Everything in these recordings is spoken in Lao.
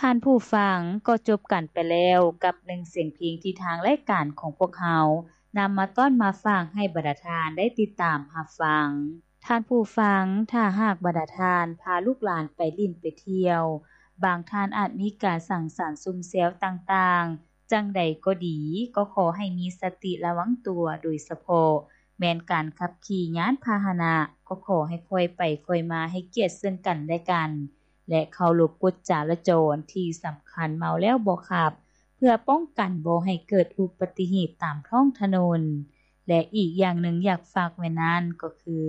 ທ່ານຜູ້ຟັງ, ກໍຈົບກັນໄປແລ້ວກັບໜຶ່ງສຽງເພງທີ່ທາງລາຍການຂອງພວກເຮົານຳມາຕ້ອນມາຝາກໃຫ້ບັນດາທ່ານໄດ້ຕິດຕາມຮັບຟັງ. ທ່ານຜູ້ຟັງ, ຖ້າຫາກບັນດາທ່ານພາລູກຫຼານໄປຫຼິ້ນໄປທ່ຽວ, ບາງທ່ານອາດມີການສັງສັນຊຸມແຊວຕ່າງໆ, ຈັ່ງໃດກໍດີ, ກໍຂໍໃຫ້ມີສະຕິລະວັງຕົວ, ໂດຍສະເພາະແມ່ນການຂັບຂີ່ຍານພາຫະນະ, ກໍຂໍໃຫ້ຄ່ອຍໄປຄ່ອຍມາ, ໃຫ້ກຽດເຊິ່ງກັນແລະກັນ ແລະ ເຄົາລົບກົດຈະລາຈອນ. ທີ່ສຳຄັນ, ເມົາແລ້ວບໍ່ຂັບ, ເພື່ອປ້ອງກັນບໍ່ໃຫ້ເກີດອຸບັດຕິເຫດຕາມທ້ອງຖະໜົນ. ແລະ ອີກຢ່າງໜຶ່ງຢາກຝາກໄວ້ນັ້ນກໍຄື,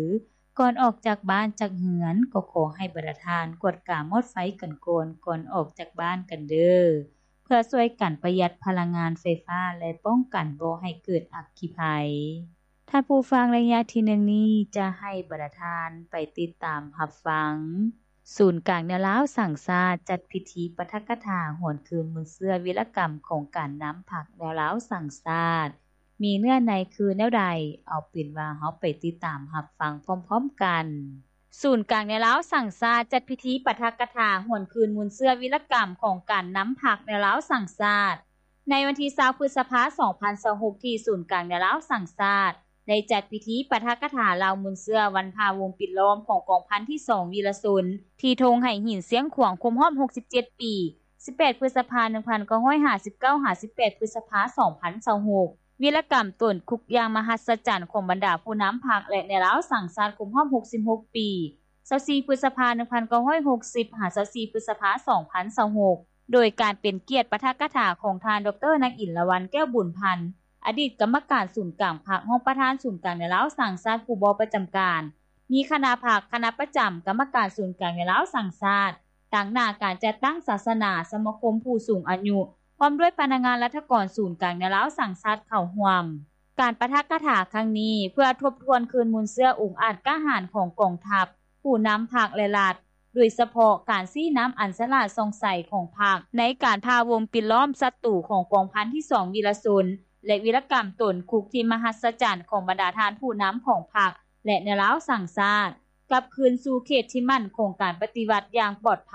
ກ່ອນອອກຈາກບ້ານຈາກເຮືອນ, ກໍຂໍໃຫ້ບັນດາທ່ານກວດກາມອດໄຟກັນກ່ອນ, ກ່ອນອອກຈາກບ້ານກັນເດີ້. ເພື່ອຊ່ວຍກັນປະຢັດພະລັງງານໄຟຟ້າ ແລະ ປ້ອງກັນບໍ່ໃຫ້ເກີດອັກຄີໄພ. ທ່ານຜູ້ຟັງ, ໄລຍະທີໜຶ່ງນີ້ຈະໃຫ້ບັນດາທ່ານໄປຕິດຕາມຮັບຟັງ ສູນກາງແນວລາວສ້າງຊາດ ຈັດພິທີປາຖະກະຖາຫວນຄືນມູນເຊື້ອວິລະກຳຂອງການນຳພັກແນວລາວສ້າງຊາດ ມີເນື້ອໃນຄືແນວໃດ? ເອົາເປັນວ່າເຮົາໄປຕິດຕາມຮັບຟັງພ້ອມໆກັນ. ສູນກາງແນວລາວສ້າງຊາດ ຈັດພິທີປາຖະກະຖາຫວນຄືນມູນເຊື້ອວິລະກຳຂອງການນຳພັກແນວລາວສ້າງຊາດ ໃນວັນທີຊາວ ພຶດສະພາ ສອງພັນຊາວຫົກ ທີ່ສູນກາງແນວລາວສ້າງຊາດ ໄດ້ຈັດພິທີປາຖະກະຖາລາວມູນເຊື້ອວັນພາວົງປິດລ້ອມຂອງກອງພັນທີສອງວິລະຊົນ ທີ່ທົ່ງໄຫຫີນຊຽງຂວາງ ຄົບຮອບຫົກສິບເຈັດປີ ສິບແປດ ພຶດສະພາ ໜຶ່ງພັນເກົ້າຮ້ອຍຫ້າສິບເກົ້າ ຫາ ສິບແປດ ພຶດສະພາ ສອງພັນຊາວຫົກ ວິລະກຳຕົນຄຸກຢ່າງມະຫັດສະຈັນຂອງບັນດາຜູ້ນຳພັກ ແລະ ແນວລາວສ້າງຊາດຄົບຮອບຫົກສິບຫົກປີ ຊາວສີ່ ພຶດສະພາ ໜຶ່ງພັນເກົ້າຮ້ອຍຫົກສິບ ຫາ ຊາວສີ່ ພຶດສະພາ ສອງພັນຊາວຫົກ ໂດຍການເປັນກຽດປາຖະກະຖາຂອງທ່ານ ດອກເຕີ ນາງ ອິນລະວັນ ແກ້ວບຸນພັນ ອະດີດກຳມະການສູນກາງພັກ, ຮອງປະທານສູນກາງແນວລາວສ້າງຊາດ ຜູ້ບໍ່ປະຈຳການ, ມີຄະນະພັກ, ຄະນະປະຈຳ, ກຳມະການສູນກາງແນວລາວສ້າງຊາດ, ຕາງໜ້າການຈັດຕັ້ງສາສະໜາ, ສະມາຄົມຜູ້ສູງອາຍຸ, ພ້ອມດ້ວຍພະນັກງານລັດຖະກອນສູນກາງແນວລາວສ້າງຊາດເຂົ້າຮ່ວມ. ການປາຖະກະຖາຄັ້ງນີ້ ເພື່ອທົບທວນຄືນມູນເຊື້ອອົງອາດກ້າຫານຂອງກອງທັບ, ຜູ້ນຳພັກ ແລະ ລັດ, ໂດຍສະເພາະການຊີ້ນຳອັນສະຫຼາດສ່ອງໃສຂອງພັກ ໃນການພາວົງປິດລ້ອມສັດຕູຂອງກອງພັນທີສອງວິລະຊົນ ແລະ ວິລະກຳຕົນຄຸກທີ່ມະຫັດສະຈັນຂອງບັນດາທ່ານຜູ້ນຳຂອງພັກ ແລະ ແນວລາວສ້າງຊາດ ກັບຄືນສູ່ເຂດທີ່ໝັ້ນຄົງການປະຕິວັດຢ່າງປອດໄພ,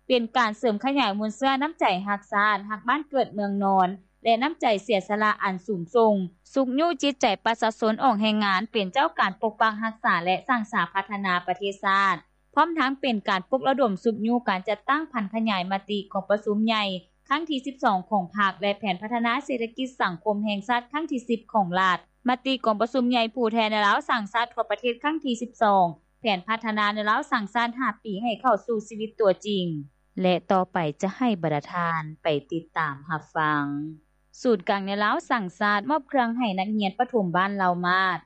ເປັນການເສີມຂະຫຍາຍມູນເຊື້ອນ້ຳໃຈຮັກຊາດ, ຮັກບ້ານເກີດເມືອງນອນ ແລະ ນ້ຳໃຈເສຍສະຫຼະອັນສູງສົ່ງ, ຊຸກຍູ້ຈິດໃຈປະຊາຊົນອອກແຮງງານເປັນເຈົ້າການປົກປັກຮັກສາ ແລະ ສ້າງສາພັດທະນາປະເທດຊາດ, ພ້ອມທັງເປັນການປຸກລະດົມຊຸກຍູ້ການຈັດຕັ້ງຜັນຂະຫຍາຍມະຕິກອງປະຊຸມໃຫຍ່ຄັ້ງທີສິບສອງຂອງພັກ ແລະ ແຜນພັດທະນາເສດຖະກິດສັງຄົມແຫ່ງຊາດຄັ້ງທີສິບຂອງລັດ, ມະຕິກອງປະຊຸມໃຫຍ່ຜູ້ແທນແນວລາວສ້າງຊາດທົ່ວປະເທດຄັ້ງທີສິບສອງ, ແຜນພັດທະນາແນວລາວສ້າງຊາດຫ້າປີໃຫ້ເຂົ້າສູ່ຊີວິດຕົວຈິງ. ແລະ ຕໍ່ໄປຈະໃຫ້ບັນດາທ່ານໄປຕິດຕາມຮັບຟັງ. ສູນກາງແນວລາວສ້າງຊາດມອບເຄື່ອງໃຫ້ນັກຮຽນປະຖົມບ້ານເຫຼົ່າມາດ.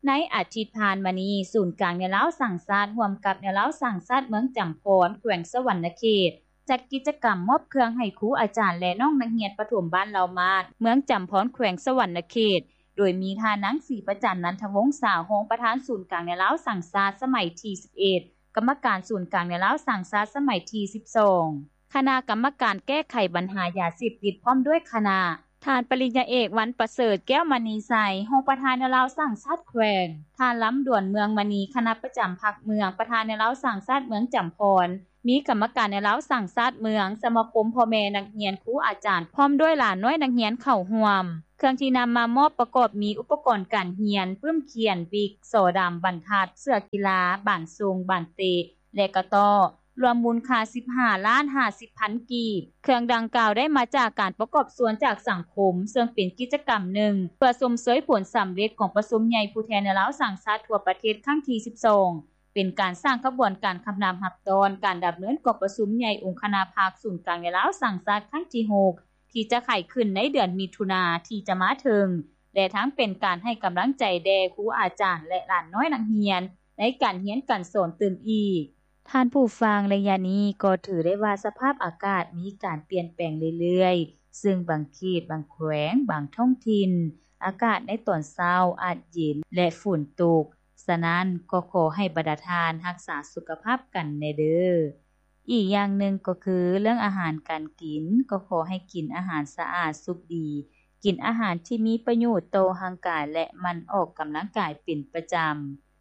ໃນອາທິດຜ່ານມານີ້, ສູນກາງແນວລາວສ້າງຊາດ ຮ່ວມກັບແນວລາວສ້າງຊາດເມືອງຈຳພອນ ແຂວງສະຫວັນນະເຂດ ຈັດກິດຈະກຳມອບເຄື່ອງໃຫ້ຄູອາຈານ ແລະ ນ້ອງນັກຮຽນປະຖົມບ້ານເຫຼົ່າມາດ ເມືອງຈຳພອນ ແຂວງສະຫວັນນະເຂດ ໂດຍມີທ່ານນາງ ສີປະຈັນ ນັນທະວົງສາ ຮອງປະທານສູນກາງແນວລາວສ້າງຊາດສະໄໝທີສິບເອັດ, ກຳມະການສູນກາງແນວລາວສ້າງຊາດສະໄໝທີສິບສອງ, ຄະນະກຳມະການແກ້ໄຂບັນຫາຢາເສບຕິດ ພ້ອມດ້ວຍຄະນະ, ທ່ານປະລິນຍາເອກ ວັນປະເສີດ ແກ້ວມະນີໄຊ ຮອງປະທານແນວລາວສ້າງຊາດແຂວງ, ທ່ານ ລຳດວນ ເມືອງມະນີ ຄະນະປະຈຳພັກເມືອງ ປະທານແນວລາວສ້າງຊາດເມືອງຈຳພອນ, ມີກຳມະການແນວລາວສ້າງຊາດເມືອງ, ສະມາຄົມພໍ່ແມ່ນັກຮຽນ, ຄູອາຈານ ພ້ອມດ້ວຍຫຼານນ້ອຍນັກຮຽນເຂົ້າຮ່ວມ. ເຄື່ອງທີ່ນຳມາມອບປະກອບມີອຸປະກອນການຮຽນ, ປຶ້ມຂຽນ, ວິກ, ສໍດຳ, ບັນທັດ, ເສື້ອກິລາ, ບານຊົງ, ບານເຕະ ແລະ ກະຕໍ້, ລວມມູນຄ່າສິບຫ້າລ້ານຫ້າສິບພັນກີບ. ເຄື່ອງດັ່ງກ່າວໄດ້ມາຈາກການປະກອບສ່ວນຈາກສັງຄົມ, ເຊິ່ງເປັນກິດຈະກຳໜຶ່ງເພື່ອຊົມເຊີຍຜົນສຳເລັດກອງປະຊຸມໃຫຍ່ຜູ້ແທນແນວລາວສ້າງຊາດທົ່ວປະເທດຄັ້ງທີສິບສອງ, ເປັນການສ້າງຂະບວນການຄຳນັບຮັບຕ້ອນການດຳເນີນກອງປະຊຸມໃຫຍ່ອົງຄະນະພັກສູນກາງແນວລາວສ້າງຊາດຄັ້ງທີຫົກ ທີ່ຈະໄຂຂຶ້ນໃນເດືອນມິຖຸນາທີ່ຈະມາເຖິງ ແລະ ທັງເປັນການໃຫ້ກຳລັງໃຈແດ່ຄູອາຈານ ແລະ ຫຼານນ້ອຍນັກຮຽນໃນການຮຽນການສອນຕື່ມອີກ. ທ່ານຜູ້ຟັງ, ໄລຍະນີ້ກໍຖືໄດ້ວ່າສະພາບອາກາດມີການປ່ຽນແປງເລື້ອຍໆ, ເຊິ່ງບາງເຂດ, ບາງແຂວງ, ບາງທ້ອງຖິ່ນ, ອາກາດໃນຕອນເຊົ້າອາດເຢັນ ແລະ ຝົນຕົກ. ສະນັ້ນ, ກໍຂໍໃຫ້ບັນດາທ່ານຮັກສາສຸຂະພາບກັນແດ່ເດີ້. ອີກຢ່າງໜຶ່ງກໍຄືເລື່ອງອາຫານການກິນ, ກໍຂໍໃຫ້ກິນອາຫານສະອາດສຸກດີ, ກິນອາຫານທີ່ມີປະໂຫຍດຕໍ່ຮ່າງກາຍ ແລະ ໝັ່ນອອກກຳລັງກາຍເປັນປະຈຳ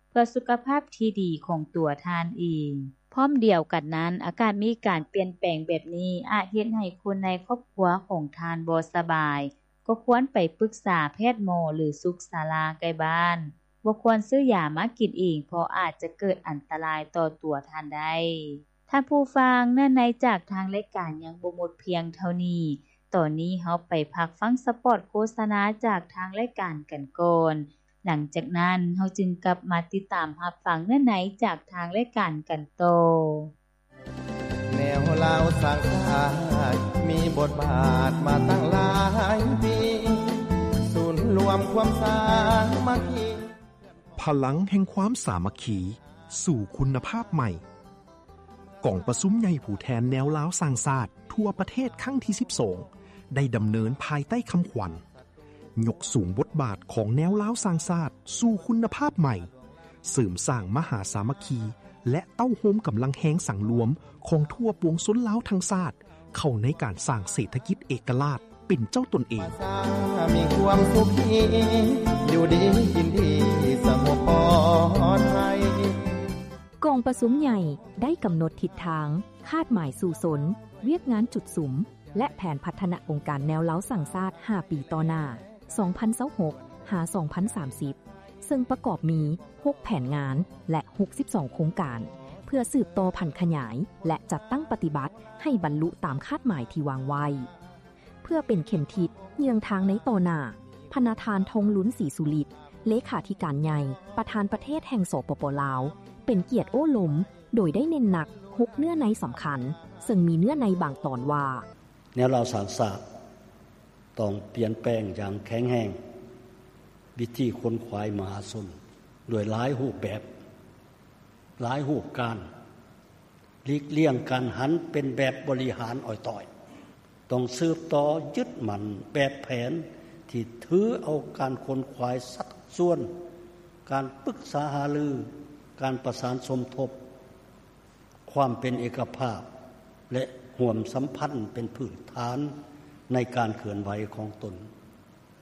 ເພື່ອສຸຂະພາບທີ່ດີຂອງຕົວທ່ານເອງ. ພ້ອມດຽວກັນນັ້ນ, ອາກາດມີການປ່ຽນແປງແບບນີ້ ອາດເຮັດໃຫ້ຄົນໃນຄອບຄົວຂອງທ່ານບໍ່ສະບາຍ, ກໍຄວນໄປປຶກສາແພດໝໍ ຫຼື ສຸກສາລາໃກ້ບ້ານ. ບໍ່ຄວນຊື້ຢາມາກິນເອງ, ເພາະອາດຈະເກີດອັນຕະລາຍຕໍ່ຕົວທ່ານໄດ້. ທ່ານຜູ້ຟັງ, ເນື້ອໃນຈາກທາງລາຍການຍັງບໍ່ໝົດພຽງເທົ່ານີ້. ຕອນນີ້ເຮົາໄປພັກຟັງສະປອດໂຄສະນາຈາກທາງລາຍການກັນກ່ອນ. ຫຼັງຈາກນັ້ນເຮົາຈຶ່ງກັບມາຕິດຕາມຮັບຟັງເນື້ອໃນຈາກທາງລາຍການກັນຕໍ່. ແນວລາວສ້າງຊາດມີບົດບາດມາຕັ້ງຫຼາຍປີ, ສູນລວມຄວາມສາມັກຄີ. ພະລັງແຫ່ງຄວາມສາມັກຄີ ສູ່ຄຸນນະພາບໃໝ່. ກອງປະຊຸມໃຫຍ່ຜູ້ແທນແນວລາວສ້າງຊາດທົ່ວປະເທດຄັ້ງທີສິບສອງ ໄດ້ດຳເນີນພາຍໃຕ້ຄຳຂວັນ ຍົກສູງບົດບາດຂອງແນວລາວສ້າງຊາດສູ່ຄຸນນະພາບໃໝ່, ເສີມສ້າງມະຫາສາມັກຄີ ແລະ ເຕົ້າໂຮມກຳລັງແຮງສັງລວມຂອງທົ່ວປວງຊົນລາວທັງຊາດ ເຂົ້າໃນການສ້າງເສດຖະກິດເອກະລາດເປັນເຈົ້າຕົນເອງ. ມີຄວາມສຸກດີ ຢູ່ດີກິນດີ ສະຫງົບປອດໄພ. ກອງປະຊຸມໃຫຍ່ໄດ້ກຳນົດທິດທາງ, ຄາດໝາຍສູ້ຊົນ, ວຽກງານຈຸດສຸມ ແລະ ແຜນພັດທະນາອົງການແນວລາວສ້າງຊາດຫ້າປີຕໍ່ໜ້າ ສອງພັນຊາວຫົກ ຫາ ສອງພັນສາມສິບ ເຊິ່ງປະກອບມີຫົກແຜນງານ ແລະ ຫົກສິບສອງໂຄງການ ເພື່ອສືບຕໍ່ຜັນຂະຫຍາຍ ແລະ ຈັດຕັ້ງປະຕິບັດໃຫ້ບັນລຸຕາມຄາດໝາຍທີ່ວາງໄວ້. ເພື່ອເປັນເຂັມທິດເຍືອງທາງໃນຕໍ່ໜ້າ, ພະນະທ່ານ ທອງລຸນ ສີສຸລິດ ເລຂາທິການໃຫຍ່ ປະທານປະເທດແຫ່ງ ສປປ ລາວ ເປັນກຽດໂອ້ລົມ ໂດຍໄດ້ເນັ້ນໜັກຫົກເນື້ອໃນສຳຄັນ, ເຊິ່ງມີເນື້ອໃນບາງຕອນວ່າ ແນວລາວສ້າງຊາດຕ້ອງປ່ຽນແປງຢ່າງແຂງແຮງວິທີຂົນຂວາຍມະຫາຊົນດ້ວຍຫຼາຍຮູບແບບ, ຫຼາຍຮູບການ, ຫຼີກລ່ຽງການຫັນເປັນແບບບໍລິຫານອ້ອຍຕ້ອຍ, ຕ້ອງສືບຕໍ່ຍຶດໝັ້ນແບບແຜນທີ່ຖືເອົາການຂົນຂວາຍສັດສ່ວນ, ການປຶກສາຫາລື, ການປະສານສົມທົບ, ຄວາມເປັນເອກະພາບ ແລະ ຮ່ວມສຳພັນເປັນພື້ນຖານໃນການເຄື່ອນໄຫວຂອງຕົນ.